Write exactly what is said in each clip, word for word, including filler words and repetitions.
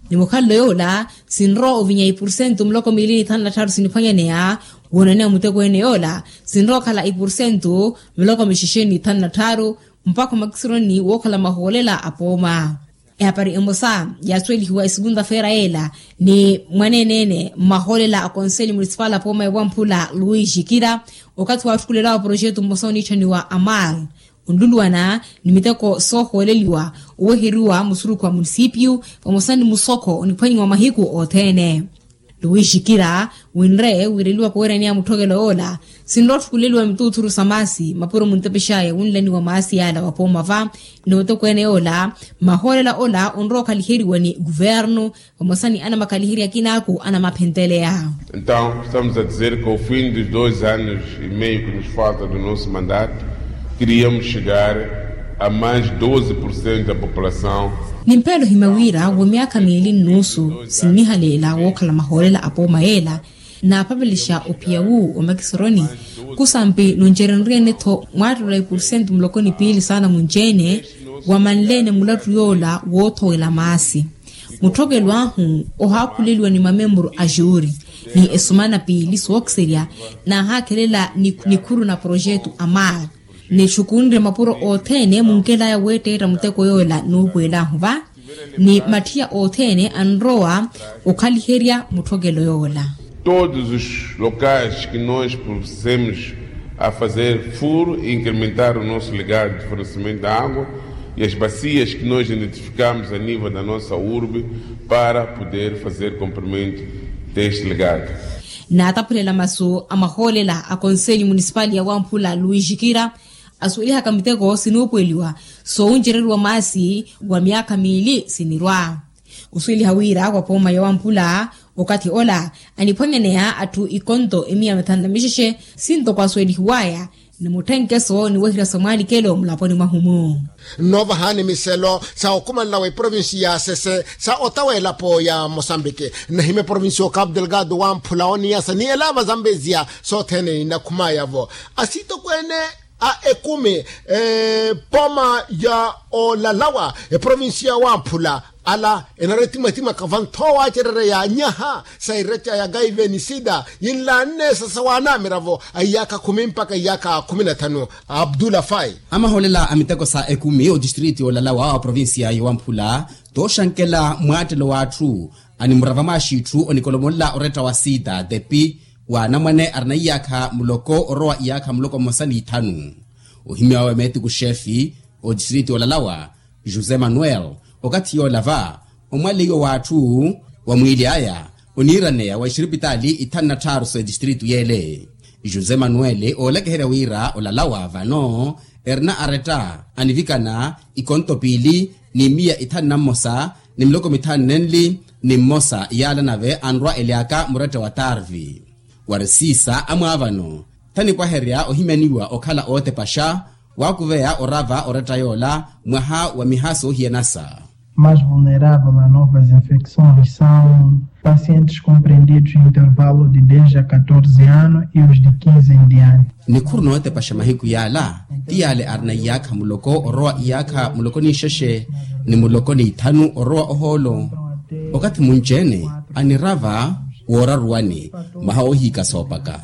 Ni mukhalelo yoola sinrowa ovinya ipursentu muloko miili ni thanu na tthaaru siniphwanyaneya. Woonaneya muteko ene yoola sinrowa okhala ipursentu muloko mixexe ni thanu na tthaaru mpakha omakisironi wookhala mahoolela a pooma. Ehapari emosa yaasuwelihiwa esukunta-feera yeela ni mwaneene-ene mmahoolela a konselyo munisipali a pooma ya wamphula luis jikira, okathi waatthukulelawa poroxetu mmosa oniitthaniwa amal onluluwana ni miteko soohooleliwa oweheriwa musurukhu wa munisipiyu vamosa ni musokho oniphwanyiwa mahiku othene. Luis jikira winre wiireliwaka oweeraneya mutthokelo yoola sinrowa otthukuleliwa mituuthuru sa maasi mapuro muntepexaya wunlaniwa maasi yaala wa pooma va. Ni otokweene yoola mahoolela ola onrowa okhaliheriwa ni kuvernu vamosa ni anamakhaliherya akinaaku anamaphenteleya. Então estamos a dizer que ao fim dos dois anos e meio que nos falta do nosso mandato queríamos chegar a mais doze por cento da população. Ni mpeelo ohimya wira wa myaakha miili nnuusu sinnihaleela wookhala mahoolela a pooma yeela naapapelexa ophiya wu omakisoroni kusampi nuncerenriyene-tho mwaattelo a ipursentu muloko ni piili saana munci-ene wamanleene mulattu yoola woothowela maasi. Mutthokelo ahu ohaakhuleliwa ni mamemburu a juuri ni esumana piili sookiserya naahaakhelela nikhuru na poroxetu a mar ni txukunre mapuro othene munkelaya weetteetta muteko yoola nuupuwelaahu va ni mathiya othene anrowa okhaliherya mutthokelo yoola. Todos os locais que nós procedemos a fazer furo e incrementar o nosso legado de fornecimento da água e as bacias que nós identificamos a nível da nossa urbe para poder fazer cumprimento deste legado. Naataphulela masu a mahoolela a konselyo munisipali ya wamphula luis jikira asuwelihaka miteko sinuupuweliwa soowuncereriwa maasi wa myaakha miili sinirwa. Osuweliha wira wa pooma ya wamphula okathi ola aniphwanyaneya atthu ikonto emiya mithanu na mixexe sintoko asuwelihiwaya ni mutthenkeso ni wehirya sa mwaalikelo mulaponi mwahu-mu. Nnoovahani miselo sa okumanela wa eprovinsi ya sese sa ota w'elapo ya mosambiki nnahimya eprovinsi y'okapu delgado wamphula oniyasa ni elaava zambeziya sothene inakhumaya-vo asitokweene a ekumi pooma ya olalawa eprovinsi ya wamphula ala enaretimatimaka vanthoowa acerereya nyaha sa ireca ya gaive ni sida yinlaanne sasa waanaamira-vo a iyaakha khumi mpakha iyaakha khumi na thanu. Abdullah fai. Amahoolela a miteko sa ekumi otistriti olalawa wa provinsiya yowamphula tooxankela mwaattelo w'atthu animurava mwaaxitthu onikolomolela oretta wa sita tepi wa anamwane arina iyaakha muloko orowa iyaakha muloko mmosa n'ithanu. Ohimya wawe meetiku xefi otistriti olalawa josé manuel okathi yoola va omwaleiwa w'atthu wa mwiili aya oniiraneya wa exiripitaali ithanu na tthaaru s'etistritu y'ele. José manuel oolekeherya wira olalawa vano erina aretta anivikana ikonto piili ni miya ithanu na mmosa ni miloko mithanu nenli ni mmosa yaala nave anrwa elyaka muretta wa tarvi. Wari siisa amwaavano thanipwaherya ohimyaniwa okhala ootepaxa waakuveya orava oretta yoola mwaha wa miha soohiyanasa. Mais vulnerável a novas infecções são pacientes compreendidos em intervalo de dez a catorze anos e os de quinze em diante. Nikhuru nootepaxa mahiku yaala ti yaale arina iyaakha muloko orowa iyaakha muloko n'ixexe ni muloko n'ithanu orowa ohoolo. Okathi munci-ene anirava wooraruwani mwaha woohiika soopaka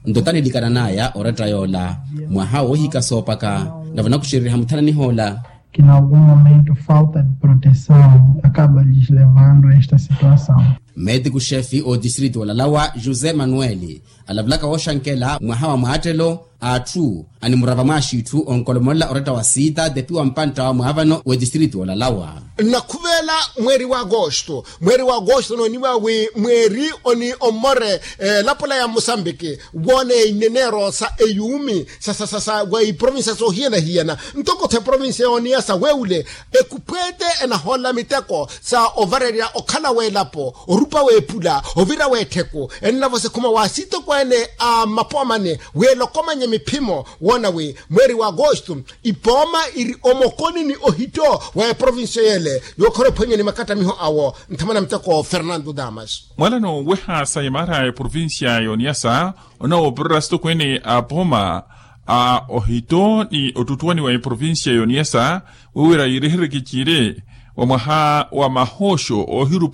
nto tanilikanan'aya oretta yoola mwaha woohiika soopaka navo nakuxereriha muthananih'ola. Que em algum momento falta de proteção acaba lhes levando a esta situação. Meetiku xefi otistriti olalawa josé manuel alavulaka wooxankela mwaha wa mwaattelo a atthu animurava mwaaxitthu onkolomolela oretta wa sita tepi wa mpantta wa mwaavano w'etistriti olalawa. Nnakhuvela mweeri wa agosto mweeri wa agosto nooniwa wi mweeri oni ommore elapo la ya mosambiki woona eineneero sa eyuumi sasa sasa wa iprovinsiya soohiyana-hiyana ntoko-tho eprovinsiya yooniyasa weewule ekuphweete enahoolela miteko sa ovarerya okhala w'elapo orupa w'epula ovira w'ettheku enlavo sikhuma wa sitokweene a mapoomani wi elokomanye miphimo woona wi mweeri wa agosto ipooma iri omokoni ni ohitto wa eprovinsiya y'ele yookhora ephwanya ni makattamiho awo nthamana miteko fernando damas. Mwalano weha sa imaara ya eprovinsiya yooniyasa onoowopererya asitokweene a pooma a ohitto ni ottuttuwani wa eprovinsiya yooniyasa wiwira yiireherye kiciire wa mwaha wa mahooxo oohirupa